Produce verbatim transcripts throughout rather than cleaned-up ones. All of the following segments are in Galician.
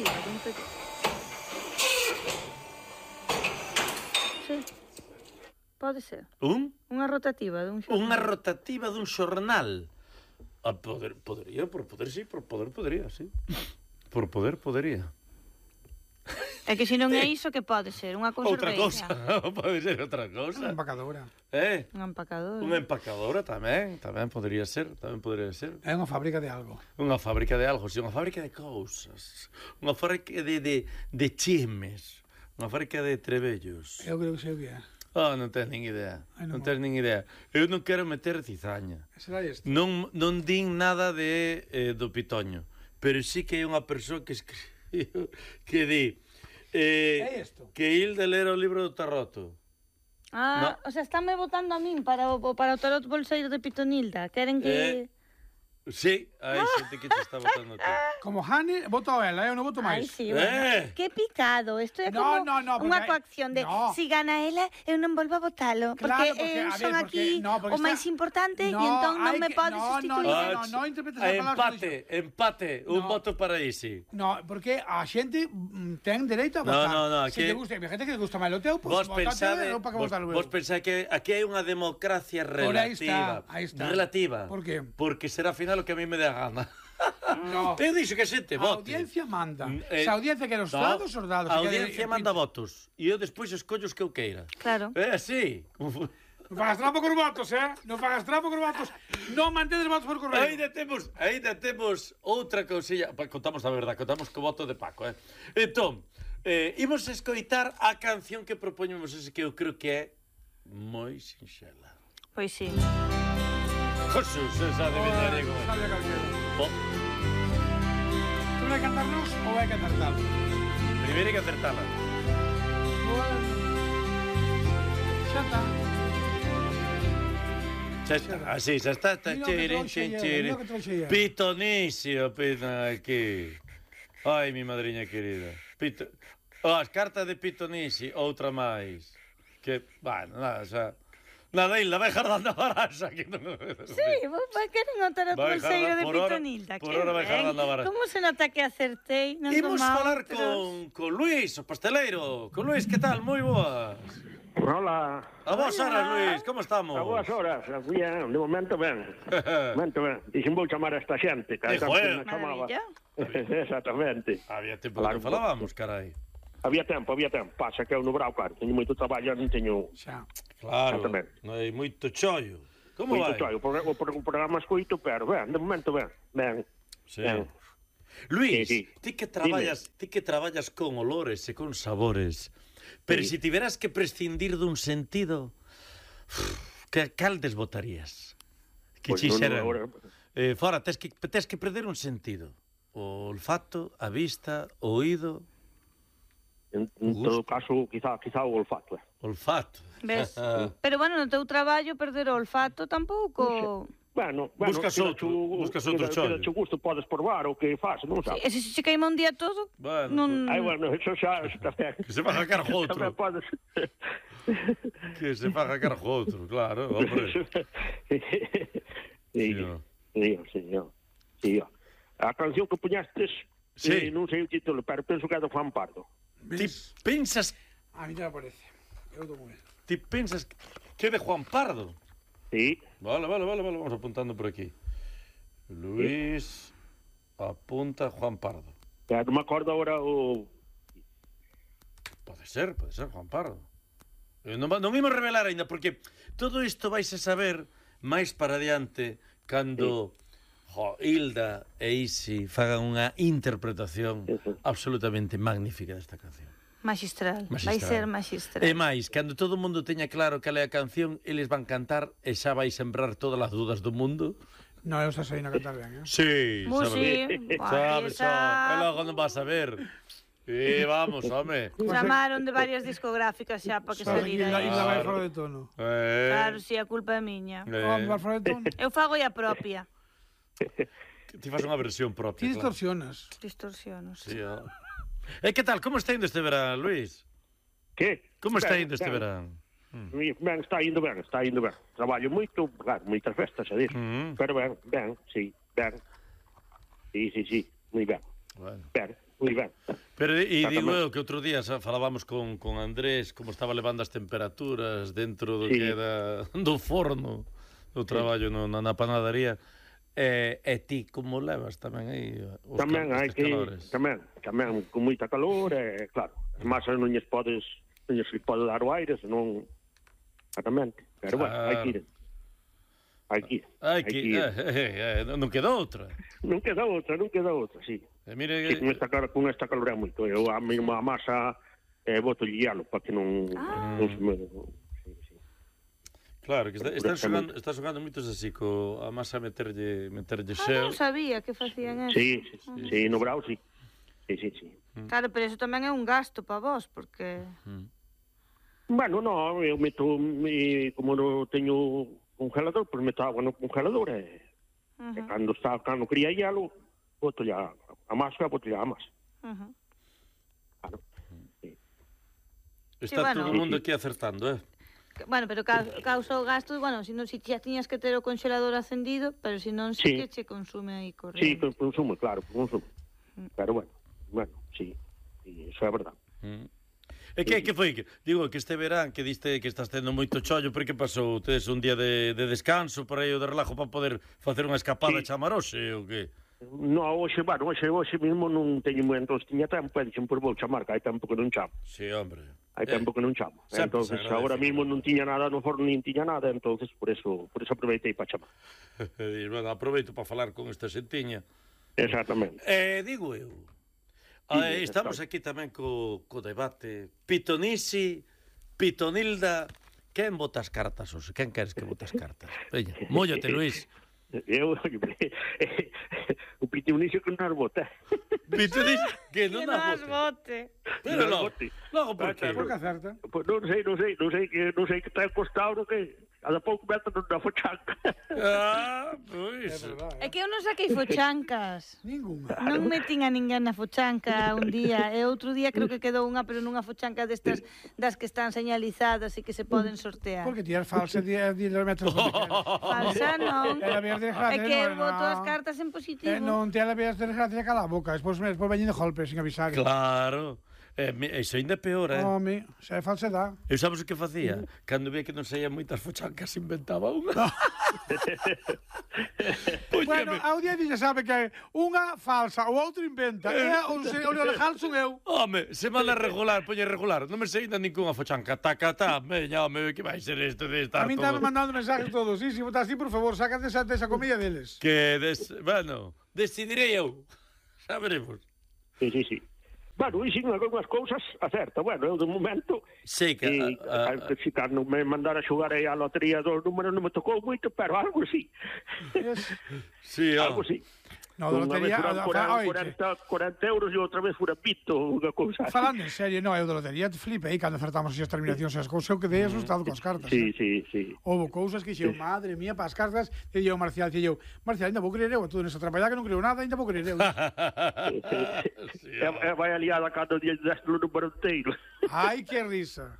rotativa dun periódico. Sí. Pode ser. Un? Unha rotativa dun xornal. Unha rotativa dun xornal. A poder, podería, por poder, sí, por poder, podería, sí. Por poder, podería. É que se non é iso, que pode ser? Unha Outra conserveira. cousa, pode ser outra cousa. Unha empacadora. Eh? Unha empacadora. Unha empacadora tamén, tamén podería ser, tamén podería ser. É unha fábrica de algo. Unha fábrica de algo, sí, unha fábrica de cousas. Unha fábrica de, de, de chismes. Unha fábrica de trebellos. Eu creo que sei o que é. Oh, non tens nin idea. Ai, non non tens nin idea. Eu non quero meter cizaña. Será isto? Non, non din nada de eh, do pitoño, pero sí que hai unha persoa que escribiu que di eh, É isto? que Hilda lera o libro do Tarroto. Ah, No. o sea, estánme votando a min para o, para o tarot bolseiro de Pitonilda. Queren que... Eh, Sí, hai xente que te está votando a ti. Como Hane, voto a ela, eu non voto Ai, máis. sí, bueno. Eh. Que picado. Isto é No, como no, no, porque unha hai- coacción de no. si gana ela, eu non volvo a votalo. Claro, porque, porque, eu a ver, son porque- aquí no, porque o está- máis importante No, e entón non hai me que- podes no, no, sustituir. no, Ah, no interpretes a as palabras empate, que empate, un No. voto para Isi. No, porque a xente mm, ten dereito a No, votar. no, no, Se aquí- te gusta, a xente que te gusta máis o teu, pois Vos pues, pensade, votate, non para que vos, votar vos pensade que aquí hai unha democracia Por aí relativa. está, aí está. Relativa. Por qué? Porque será ao final o que a mí me dé a gana. No. Eu dixo que a xente A vote. audiencia manda. Mm, Se a audiencia quere os dados, os dados. A Se quere- audiencia manda votos. E eu despois escollo os que eu queira. Claro. É así. Como fu- Non fagas trampo con votos, eh? Non fagas trampo con votos. Non mantedes votos por correo. Ainda temos, ainda temos outra cousilla. Pa, contamos a verdade, contamos co voto de Paco, eh. Entón, eh, imos escoitar a canción que propoñemos, ese que eu creo que é moi sinxela. Pois sí. Jesús, esa de Villarejo. Sabe a calquera. Oh, Tú vai cantarnos ou vai cantar tal? primeiro hai que acertala. Bueno. Xa está. Xa está, así, xa está, está Mira o que chirin, trouxe chin, ayer, chirin. mira o que trouxe ayer. Pitonísimo, pito aquí. Ai, mi madriña querida. Pito... Oh, as cartas de Pitonisi, outra máis. Que, bueno, nada, xa... Nada, Hilda, vai jardando a baraxa. Que non... Sí, vos vai queren o tarot Vai bolseiro jardar- de por hora- Pitonilda. por que hora vai ben. jardando a baraxa. Como se nota que acertei? Non Imos como a falar outros. con, con Luis, o pasteleiro. Con Luis, que tal? Moi boas. Hola. A vos horas, Luis, como estamos? A boas horas, bien, de momento ben. De momento ben. Dixen vou chamar a esta xente, que Eh, a joder. me chamaba. Maravilla. Exactamente. Había tempo Claro, que falábamos, carai. Había tempo, había tempo. Pasa que eu no brau, claro, teño moito traballo, non teño Xa. Claro, Exactamente. non hai moito chollo. Como moito vai? traballo. O, pro- o, pro- o programa escoito, pero ben, de momento ben. Ben. Sí. Ben. Luis, Sí, sí. ti que traballas, ti que traballas con olores e con sabores, pero Sí. se si tiveras que prescindir dun sentido, que cal desbotarías? Que Pois pues non, xeran? agora- Eh, fora, tes que tes que perder un sentido. O olfato, a vista, o oído, En, en todo caso, quizá, quizá o olfato. Eh. olfato. Ves? Pero bueno, no teu traballo perder o olfato tampouco... Bueno, bueno, Buscas queda outro, chu- buscas outro queda- chollo. queda chu gusto, podes probar o que faz, non Sí, sabes? e se se queima un día todo, Bueno, non... Ai, bueno, eso xa, eso tamén. Que se faga cargo outro. Tamén podes... Que se faga cargo outro, claro, hombre. Sí, Señor. sí, señor. Sí, a canción que puñastes, Sí. eh, non sei o título, pero penso que é do Juan Pardo. Ti Ves? pensas, A mí te parece. Eu tomo eso. ti pensas que é de Juan Pardo? Sí, Vale, vale, vale, vale, vamos apuntando por aquí. Luis apunta Juan Pardo. pero non me acordo agora o... Pode ser, pode ser Juan Pardo. Eh, non, va- non imos revelar aínda, porque todo isto vais a saber máis para adiante cando jo, Hilda e Isi fagan unha interpretación Sí, sí. absolutamente magnífica desta canción. Magistral. Vai Magistral. ser magistral. E máis, cando todo o mundo teña claro cal é a canción, eles van cantar e xa vai sembrar todas as dudas do mundo. No, eu xa sei na cantar ben, eh? Sí, Musi, sabes, esa... e logo non vas a ver. E vamos, home. Chamaron de varias discográficas xa para que Sabe que salira. Hilda, Hilda vai Claro. fora de tono. Eh, Claro, si, a culpa é miña. eh, Vamos vai fora de tono. Eu fago a propia. Ti fas unha versión propia, Ti claro. distorsionas. Distorsionos. Sí, ó. E que tal, como está indo este verán, Luis? Que? Como está Ben, indo este ben. verán? Ben, está indo ben, está indo ben. Traballo moito, claro, moitas festas, xa dixo. Mm. Pero ben, ben, sí, ben. Sí, sí, sí, moi ben. Bueno. Ben, moi ben. Pero, e digo Exactamente. eu que outro día xa falábamos con, con Andrés como estaba levando as temperaturas dentro do Sí. que era do forno do traballo no, na, na panadería. E, e ti como levas tamén aí os Tamén cal- hai estes que calores? tamén, tamén con moita calor, e claro, as masas non lles podes non lles pode dar o aire, senón exactamente. Pero bueno, hai que ir. Hai que ir. Hai que, ir. eh, eh, eh, non queda outra. Non queda outra, non queda outra, sí. E mire, Sí, con esta, cal- con esta calor é moito. Eu a mesma masa eh, boto hielo para que non, Ah. non se me... Sí, sí. claro, que está, están Correctamente. xogando, está xogando moitos así co a masa meterlle meterlle Ah, xeo. non sabía que facían eso. Sí, sí, sí, sí, no Brau, sí. Sí, sí, sí. Claro, pero eso tamén é un gasto para vos, porque... Mm. Bueno, no, eu meto, me, como non teño congelador, pois meto agua no congelador e, Uh e -huh, cando está, cando cría hielo, boto ya a masa, boto ya a masa. uh -huh. Claro. Sí. Está bueno. todo o mundo aquí acertando, eh? Que- Bueno, pero ca causa o gasto, bueno, si non si xa tiñas que ter o congelador acendido, pero si non si Sí. que che consume aí Sí, corriente. con consumo, claro, con consumo. Pero bueno, bueno, sí, sí, eso é verdade. Mm. E que, que foi? Que- Digo, que este verán que diste que estás tendo moito chollo, pero que pasou? Tedes un día de, de descanso por aí o de relajo para poder facer unha escapada Sí. sí. chamarose ou que? No, hoxe, bueno, hoxe, hoxe mesmo non teño moi, entón tiña tempo, e dixen, por vou chamar, que hai tempo que non chamo. Sí, hombre. Hai tempo que non chamo. sempre Entonces, se agradece, agora mesmo claro. non tiña nada no forno, nin tiña nada, entonces por eso, por eso aproveitei para chamar. E, bueno, aproveito para falar con esta xentiña. Exactamente. Eh, digo eu, Dime, eh, estamos está. aquí tamén co, co debate Pitonisi, Pitonilda. Quen bota as cartas, hoxe? Quen queres que bote as cartas? Veña, móllate, Luís. Eu, o Pitonisi que non bota. Pitonisi, que non Que nas nas bote. bote. Pero Non no, bote. logo por Ah, que? Por que acerta. Pois non sei, non sei, non sei que non sei que está encostado, que cada pouco mete na fochanca. Ah, É pois. verdade. É que eu non saquei fochancas. Ninguna. Non metín a ninguén na fochanca un día, e outro día creo que quedou unha, pero nunha fochanca destas das que están señalizadas e que se poden sortear. Porque ti és falsa diez metros de pequeno. Falsa non. E a ver É desgracia, que eu non, boto as non. cartas en positivo. Eh, non te a ver desgracia cala a boca. Despois, despois veñen de golpe, sin avisar. Claro. Eh, me- iso ainda é peor, eh? Home, xa é falsedade. Eu sabes o que facía? Cando vía que non saían moitas fochancas, inventaba unha. Bueno, Póñame. a audiencia sabe que unha falsa, o outro inventa. E o, se- o legal son eu. Home, semana regular, poñe regular. Non me sei ainda ninguna fochanca. Taca, ta, veña, home, que vai ser isto de A estar min todo... están mandando mensajes todos. Sí, si votas así, por favor, sácate esa, esa comida deles. Que, des... bueno, decidirei eu. Xa veremos. Sí, sí, sí. Bueno, e sin algunhas cousas acerta. Bueno, eu de momento Sei que... e, a, a, a, si cando me mandara a xogar aí a lotería dos números non me tocou moito, pero algo sí. Es... sí, ó. Algo sí. No, de Unha lotería... vez furan a- a- cuarenta, oiche, cuarenta, cuarenta euros e outra vez fura pito, unha cousa así. falando en serio, no, eu de lotería te flipei cando acertamos as terminacións e as cousas, eu quedei asustado coas cartas. Sí, eh. sí, sí. Houve cousas que xeu, madre mía, para as cartas, e eu, Marcial, e eu, Marcial, ainda vou creer eu, a todo nesta trapallada que non creo nada, ainda vou creer eu. sí, E, ó. e vai aliada cando día deste o número inteiro. Ai, que risa.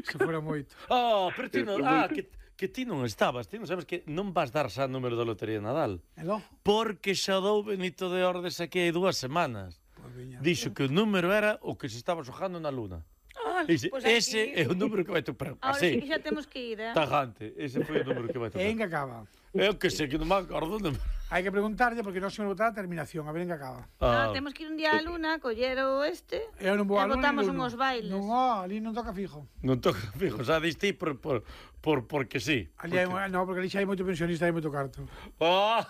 Se fora moito. Oh, pero ti non... É Ah, moito. que, que ti non estabas. Ti non sabes que non vas dar xa número da Lotería de Nadal. E logo? Porque xa dou Benito de Ordes aquí hai dúas semanas. Pois viña. Dixo que o número era o que se estaba xojando na luna. Ah, Dice, pois ese aquí- é o número que vai topar. Ahora sí Así, que xa temos que ir, eh? tajante. Ese foi o número que vai E topar. en que acaba? Eu que sei que non me acordo. Non... Hai que preguntarlle, porque non se me botar a terminación, a ver en que acaba. Ah, Ah, temos que ir un día á luna, coller o este, Eu non vou e a luna, botamos nin luno. unhos bailes. Non, oh, ali non toca fijo. non toca fijo, xa diste por, por, por, porque sí. Ali hai, no, porque ali xa hai moito pensionista e hai moito carto. Oh!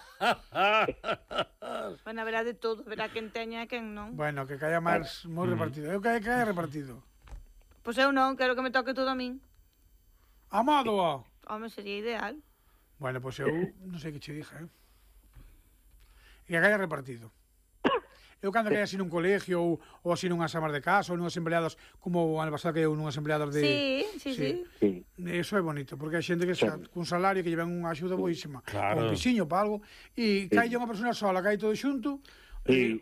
Bueno, haberá de todo, verá quen teña e quen non. Bueno, que caia máis moi repartido. Eu que caia repartido. Pois eu non, quero que me toque todo a min. Amado, ó. Home, sería ideal. Bueno, pois eu non sei que che dije, eh? E que caia repartido. Eu cando caia así nun colegio ou, ou así nunhas amas de casa ou nunhas empleadas, como o ano pasado que eu nunhas empleadas de... Sí, sí, sí. Sí. Eso é bonito, porque hai xente que xa, cun salario que llevan unha axuda boísima, Claro. un pisiño para algo, e cae unha persona sola, cae todo xunto, Sí.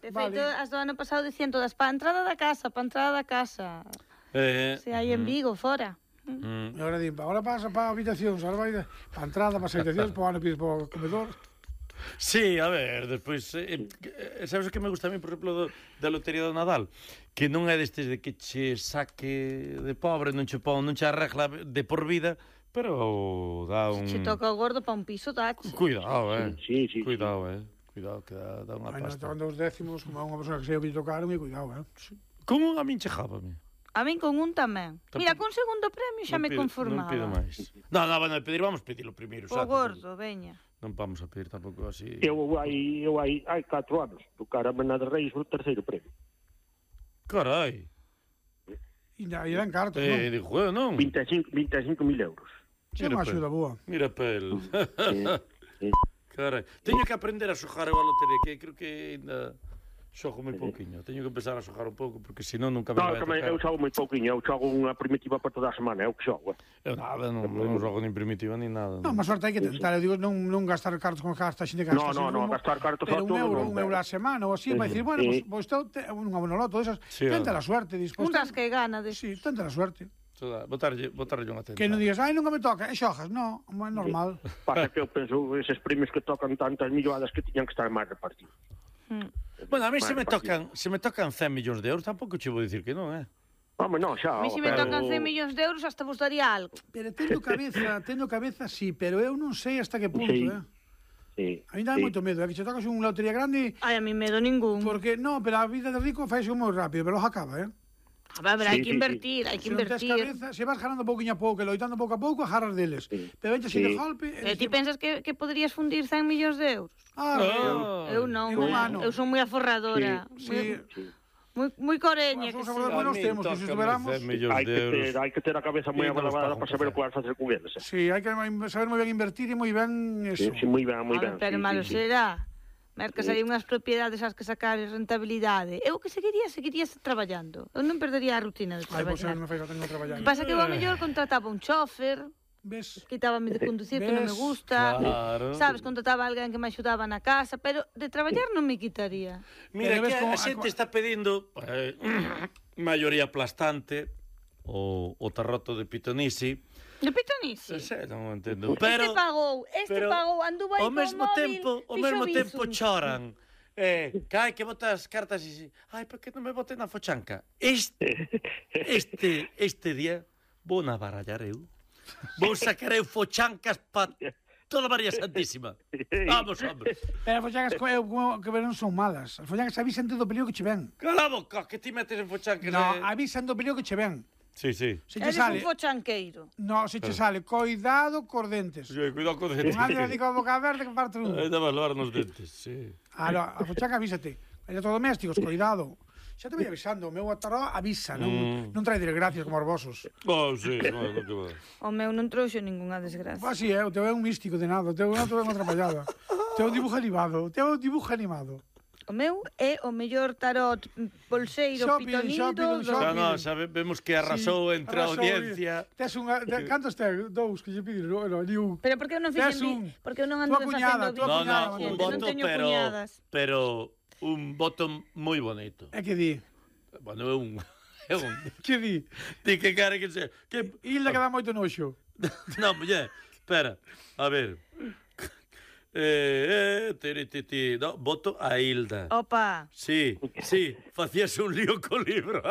De Vale. feito, as do ano pasado dicían todas, pa entrada da casa, pa entrada da casa. eh, Se hai en Vigo, fora. mm, e agora din, agora pasa para habitacións, agora vai para a entrada, para as habitacións, para o ano pides para o comedor. Sí, a ver, despois eh, eh, sabes o que me gusta a mí, por exemplo, do, da lotería do Nadal? Que non é destes de que che saque de pobre, non che pon, non che arregla de por vida, pero dá un... Se toca o gordo pa un piso, tache. Cuidado, eh. Sí, sí, Cuidado, eh. Cuidado, que dá, dá unha Ai, non, pasta. tocan dos décimos, como a unha persona que sei o que lle tocaron, e cuidado, eh. Como a min chejábame? A min con un tamén. Tampouco- Mira, con segundo premio xa Non me pido- conformaba. Non pido máis. Non, non, bueno, pedir, vamos pedirlo primeiro. O gordo, veña. Non vamos a pedir tampouco así. Eu hai, eu hai, hai catro anos, tocara a de Reis o terceiro premio. Carai. E da- e dan cartos, Eh, non? digo, eh, non. vinte e cinco, vinte e cinco mil euros. É unha axuda boa. Mira pel. Sí, sí. Carai. Teño que aprender a xogar eu a lotería, que creo que ainda xogo moi pouquiño. Teño que empezar a xogar un pouco, porque senón nunca me No, vai a tamén, tocar. eu xogo moi pouquinho, eu xogo unha primitiva para toda a semana, é o que xogo. Eh. Eu nada, non, non xogo nin primitiva nin nada. Non, má sorte hai que tentar, eu digo, non, non gastar cartos con gasta, xente que No, gasta. no, sin no, rumbo, gastar cartos pero a un todo euro, non, un euro pero- a semana ou así, vai dicir, bueno, Sí. pois pues, pues, unha bonoloto, esas, Sí, tenta home. la suerte, dispois. Un das que gana de... Sí, tenta la suerte. Toda, botarlle, botarlle unha tenta. Que non digas, ai, nunca me toca, e xojas, non, é normal. Pasa que eu penso, eses premios que tocan tantas milloadas que tiñan que estar máis repartidos. Mm. Bueno, a mí se me Máis tocan, se me tocan cen millóns de euros, tampouco che vou dicir que non, eh. Home, non, xa. A mí se me pero- tocan cen millóns de euros hasta vos daría algo. Pero tendo cabeza, tendo cabeza, sí, pero eu non sei hasta que punto, Sí. eh. Sí, A mí dá sí. moito medo, é que che tocas unha lotería grande, Ai, a mí medo ningún. porque, no, pero a vida de rico faise moi rápido, pero logo acaba, eh. A ver, hai Sí, que sí, invertir, hai que Se non tes invertir. cabeza, se vas ganando pouquinho a pouco, e loitando pouco a pouco, agarras deles. Sí. Pero vente así Sí. de golpe... E ti pensas que, que poderías fundir cen millóns de euros? Ah, Ah. Eu non, En un eh. ano. Eu son moi aforradora. sí. Sí. Moi, moi coreña que Os sí. aforradores nos temos, que se estuveramos... cen millóns Hai de que, euros. ter, hai que ter a cabeza moi Sí, nos abalabada pagan para saber café. o que vas facer con eles. Eh. Sí, hai que saber moi ben invertir e moi ben eso. Sí, sí, moi ben, moi Home, ben. pero sí, malo sí, sí. será. Mercas Sí. aí unhas propiedades ás que sacar rentabilidade. Eu que seguiría, seguiría traballando. Eu non perdería a rutina de Ai, pois eu traballar. non me fai tengo que traballar. O que pasa que eu a mellor contrataba un chofer, Ves? quitábame de conducir que non me Ves? gusta. Claro. Sabes, contrataba a alguén que me axudaba na casa, pero de traballar non me quitaría. Mira, Pero que ves a, como- a xente está pedindo eh, maioría aplastante o, o tarroto de pitonisi. De pitonisi. Se, non o entendo. Este Pero, pagou, este pero pagou, anduvo aí ao co mesmo móvil, tempo, ao fixo mesmo bizum. tempo choran. Eh, cai que botas cartas e si, ai, por que non me bote na fochanca? Este, este, este día vou na barallar eu. Vou sacar eu fochancas pa toda María Santísima. Vamos, hombre. Pero as follangas co- eu como que non son malas. As follangas avisan do peligro que che ven. Cala a boca, que ti metes en fochancas. No, eh? avisan do peligro que che ven. Sí, sí. Se che Eres sale... un fochanqueiro. No, se che sale, coidado cos dentes. Sí, cuidado con Un ande digo a boca verde que parte un. Ainda vas lavar nos dentes, sí. Ah, no, a fochanga avísate. Electrodomésticos, coidado. Xa te vai avisando, o meu ataró avisa, non, Mm. non trae desgracias como os vosos. Oh, sí, no, no que va. O meu non trouxo ningunha desgracia. Pues así é, o teu é un místico de nada, o teu non é unha atrapallada. O teu é un dibujo animado, o teu é un dibujo animado. O meu é o mellor tarot bolseiro Shopping, pitonido shopping, do... Xa shopping. no, sabemos que arrasou Sí, entre a arrasou, audiencia. Tes unha, te, cantos ten? Dous que lle piden, no, no, ni un. Pero por que eu non Tes fixen un. vi... Porque eu non Tua ando cuñada, facendo tua No, vídeos, no, cuñada, un xente, non voto, teño pero cuñadas. pero un voto moi bonito. É que di? Bueno, é un é un Que di? Di que cara que se que Hilda que dá moito noxo. No, muller, espera. A ver. Eh, eh, tiri, ti, ti. No, voto a Hilda. Opa, Sí, sí, facíase un lío co libro.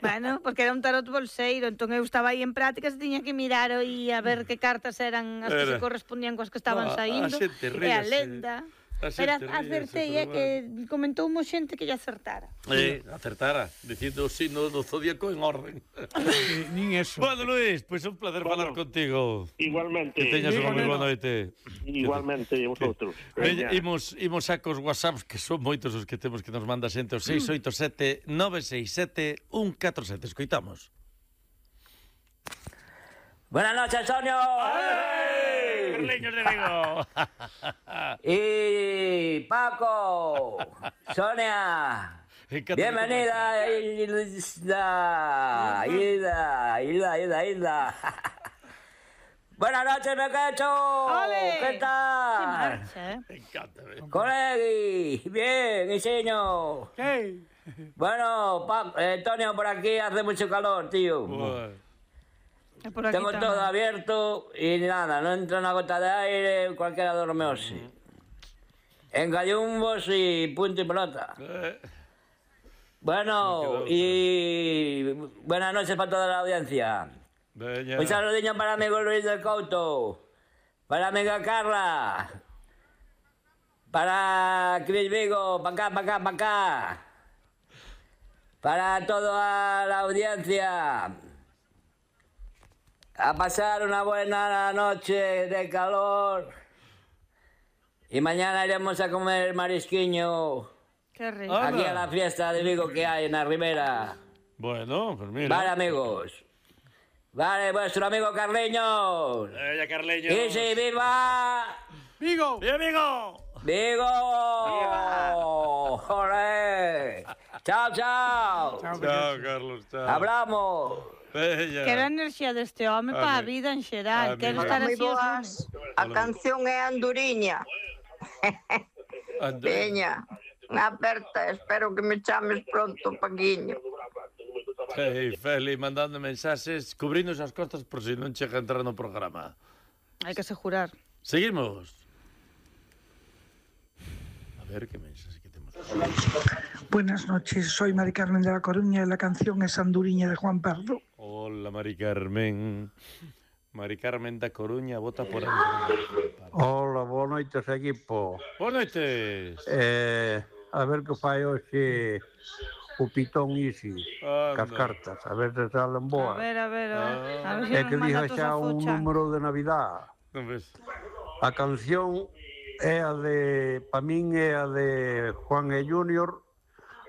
bueno, porque era un tarot bolseiro, entón eu estaba aí en prácticas e tiña que mirar aí a ver que cartas eran as que Era. se correspondían coas que estaban Ah, a saindo. xente E a ríase. lenda. A Pero xente acertei, ríase, é que comentoumo xente que lle acertara. Eh, acertara, dicindo o signo do zodíaco en orden. Eh, nin eso. Bueno, Luis, pois pues un placer Bueno. falar contigo. Igualmente. Que teñas unha moi Digo, boa neno. noite. Igualmente, vosotros. Veña, Veña. imos, imos a cos WhatsApps, que son moitos os que temos que nos manda xente, o seis oito sete nove seis sete un catro sete. Escoitamos. Buenas noches, Antonio. Carliños de Vigo. Y Paco, Sonia. Encanta- Bienvenida, Hilda. Hilda, Hilda, Hilda, Hilda. Buenas noches, Mequecho. Ole. ¿Qué Que tal? marcha, eh? Encántame. Colegi, bien, y señor. Hey. Bueno, Paco, eh, Antonio, por aquí hace mucho calor, tío. Bueno. E por aquí Tengo tamén. todo abierto y nada, no entra una gota de aire, cualquiera duerme así. en gallumbos y punto y pelota. Eh, Bueno, y buenas noches para toda la audiencia. veña. Un saludinho para amigo Luis del Couto, para amiga Carla, para Cris Vigo, para acá, para acá, para acá, para toda la audiencia. A pasar una buena noche de calor. Y mañana iremos a comer marisquiño Qué rico. Ah. aquí a la fiesta de Vigo que hay en la Ribera. Bueno, pues mira. Vale, amigos. Vale, vuestro amigo Carleños. Veña, Carleño. ¡Y si viva! ¡Vigo! ¡Viva, amigo! ¡Vigo! ¡Joder! ¡Chao, chao! Chao, Chao, Carlos, chao. ¡Hablamos! Veña. Quero a enerxía deste home para a Amigo. vida en xeral. Amigo. Quero Hola, estar Moi así os boas. lunes. A canción é Anduriña. Ande- Veña, aperta, espero que me chames pronto, Paquiño. Hey, Feli, mandando mensaxes, cubrindo as costas por si non chega a entrar no programa. Hai que asegurar. Seguimos. A ver que mensaxe que temos. Buenas noches, soy Mari Carmen de La Coruña y la canción es Anduriña de Juan Pardo. Hola, Mari Carmen. Mari Carmen da Coruña, vota por Andrés. Hola, boa noites, equipo. Boas noites. Eh, a ver que fai hoxe o Pitón Isi, Anda. cas cartas, a ver se salen A boas. ver, a ver, Ah. a ver se É nos que manda diga todos xa a un focha. número de Navidad. Non ves? A canción é a de, pa min é a de Juan e Junior,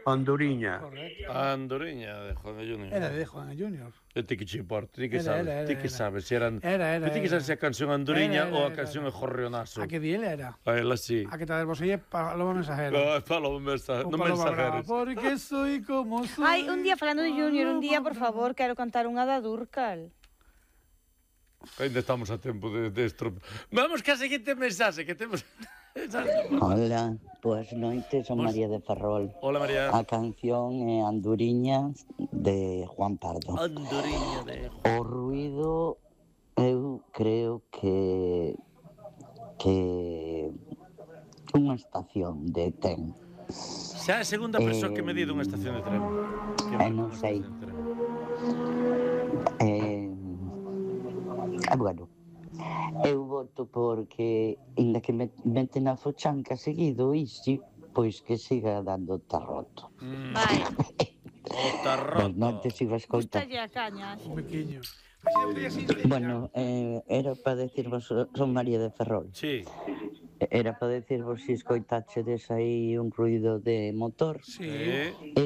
Anduriña. Correcto. A Andoriña de Juan Junior. Era de Juan Junior. E ti que che importa, ti que Era, sabes, era, era, ti que era. sabes se eran... Era, era, ti que era. sabes se a canción Andoriña Era, era, ou a era, canción era. é Jorrionazo. A que di ele era? A ela sí. A que te desboselle Paloma Mensajera. No, é Paloma mensa... O non Paloma Brava, mensajeros. porque soy como soy. Ai, un día falando de Junior, un día, por favor, quero cantar unha da Durcal. Ainda estamos a tempo de, de estro... Vamos que a seguinte mensaxe que temos... Hola, boas noites, son Bos- María de Ferrol. Hola, María. A canción é Anduriña de Juan Pardo. Andoriña de... O ruido eu creo que que unha estación de tren. Xa é a segunda persoa que me di dunha estación de tren. Que Eh, me non dunha sei. estación de tren. Eh, eh, bueno, eu voto porque inda que me meten a fochanca seguido isi, pois que siga dando tarroto. Mm, Vai, o tarroto. Pois non te sigo a escoitar. gustalle a caña. Un pequeño. Así de podía ser. Bueno, eh, era para decirvos, son María de Ferrol, Sí. era para decirvos se escoitachedes aí un ruido de motor, Sí. Eh, e